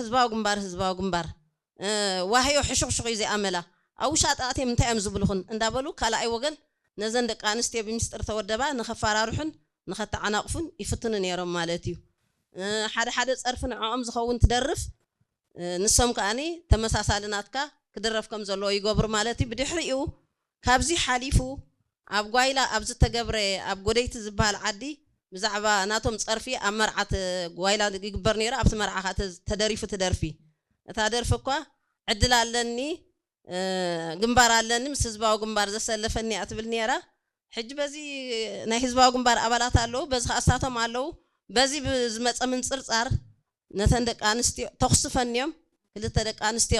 ህዝባዊ ግንባር ህዝባዊ ግንባር ዋህዮ ሕሹኽሹኽ እዩ ዚኣመላ። ኣብ ውሻጠ ኣትዮም እንታይ እዮም ዝብልኹን እንዳበሉ ካልኣይ ወገን ነዘን ደቂ ኣንስትዮ ብምስጢር ተወደባ ንኸፈራርሑን ንኸተዓናቕፉን ይፍትኑ ነይሮም ማለት እዩ። ሓደ ሓደ ጸርፊ ንዕኦም ዝኸውን ትደርፍ፣ ንሶም ከኣኒ ተመሳሳሊ ናትካ ክድረፍ ከም ዘለዎ ይገብሩ ማለት እዩ። ብድሕሪኡ ካብዚ ሓሊፉ ኣብ ጓይላ ኣብ ዝተገብረ ኣብ ጎደይቲ ዝበሃል ዓዲ ብዛዕባ ናቶም ጸርፊ ኣብ መርዓት ጓይላ ይግበር ነይሩ። ኣብቲ መርዓ ተደሪፉ ትደርፊ እታ ደርፊ እኳ ዕድል ኣለኒ ግንባር ኣለኒ ምስ ህዝባዊ ግንባር ዘሰለፈኒ እያ ትብል ነይራ። ሕጂ በዚ ናይ ህዝባዊ ግንባር ኣባላት ኣለዉ፣ በዚ ከኣሳቶም ኣለዉ። በዚ ብዝመፀ ምንፅርፃር ነተን ደቂ ኣንስትዮ ተኹሲ ፈንዮም ክልተ ደቂ ኣንስትዮ